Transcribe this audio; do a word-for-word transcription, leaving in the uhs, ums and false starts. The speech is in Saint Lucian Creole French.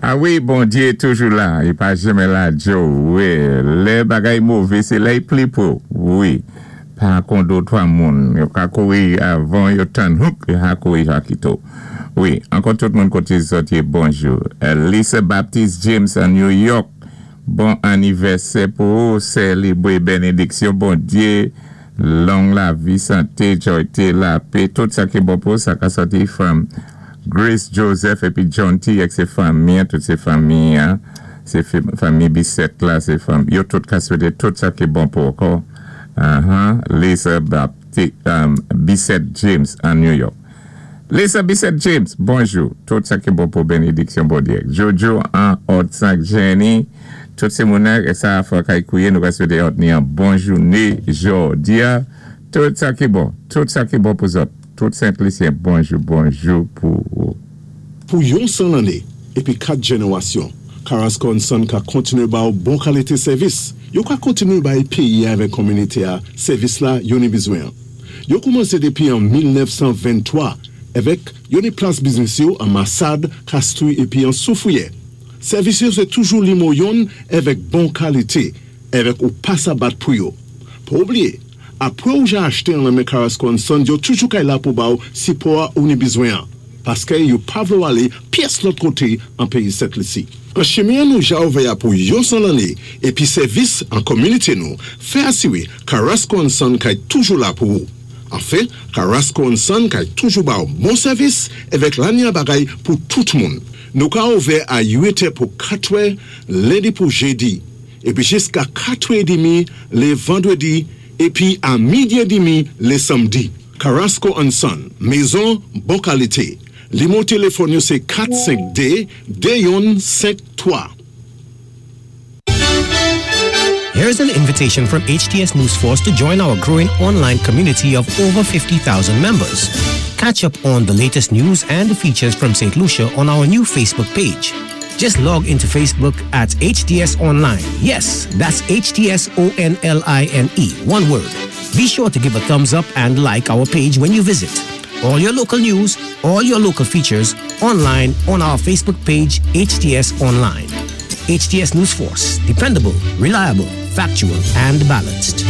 A wi, Bondyé toujou la, i pa janmen lajé ou, wi, lè bagay mové, sé la i pli pwé, wi, pa kon dé twa moun, yo ka kouri avan yo tann hook, yo ka kouri ja kito. Wi, ankò tout moun koté zòt yé bonjou. Lisa Baptiste James an New York, bon anivèsè pou ou, sélébwé bénédiksyon, Bondyé, long lavi, santé, jwayté, lapè, tout sa ki bon pou sa ka sòti from Grace Joseph épi John T. ak sé fanmi, tout sé fanmi, sé fanmi Bisset la, sé fanmi, yo tout ka swété tout sa ki bon pou ankò. Uh-huh. Lisa Baptiste, um, Bisset James an New York. Lisa Bisset James, bonjou. Tout sa ki bon pou bénédiksyon Bondyé. Jojo an Haute Jenny, tout sé moun sa fò kay kouwé, nou ka swété ni an bon jouné jòdi a. Tout sa ki bon, tout sa ki bon pou zòt. Tout Sent-Lisyen, bonjou, bonjou pou ou. Pou yon san lanné, épi kat jénéwasyon, Carrasco and Son ka kontiné ba ou bon kalité sèvis. Yo ka kontiné bay péyi avèk kominité a sèvis la yo ni bizwen. Yo koumansé dépi an mil nèf san venntwa avèk yo ni plas biznis yo an Massade, Castries épi an Soufrière. Sèvis yo sé toujou nimewo youn avèk bon kalité, avèk ou pa sa bat pou yo. Pa oubliyé, apwé ou ja achté an men Carrasco and Son, yo toujou kay la pou ba ou sipò ou ni bizwen. Paské yo pa vlé ou alé pyès lòt koté an péyi Sent Lisi. An chimen nou ja ouvè pou yon san lanné épi sèvis an kominité nou, fè asiwé Carrasco and Son kay toujou la pou ou. Anfen, Carrasco and Son kay toujou ba ou bon sèvis avèk lanya bagay pou tout moun. Nou ka ouvè a uit è pou katwè, lendi pou jédi, épi jiska katwè édmi lé vandwédi, épi a midi édmi lé samdi. Carrasco and Son, mézon bon kalité. Nimewo téléfòn yo sé kat senk dé dé youn senk twa. Here's an invitation from H T S News Force to join our growing online community of over fifty thousand members. Catch up on the latest news and features from Saint Lucia on our new Facebook page. Just log into Facebook at H T S Online. Yes, that's H T S O N L I N E, one word. Be sure to give a thumbs up and like our page when you visit. All your local news, all your local features online on our Facebook page, H T S Online. H T S News Force, dependable, reliable, factual, and balanced.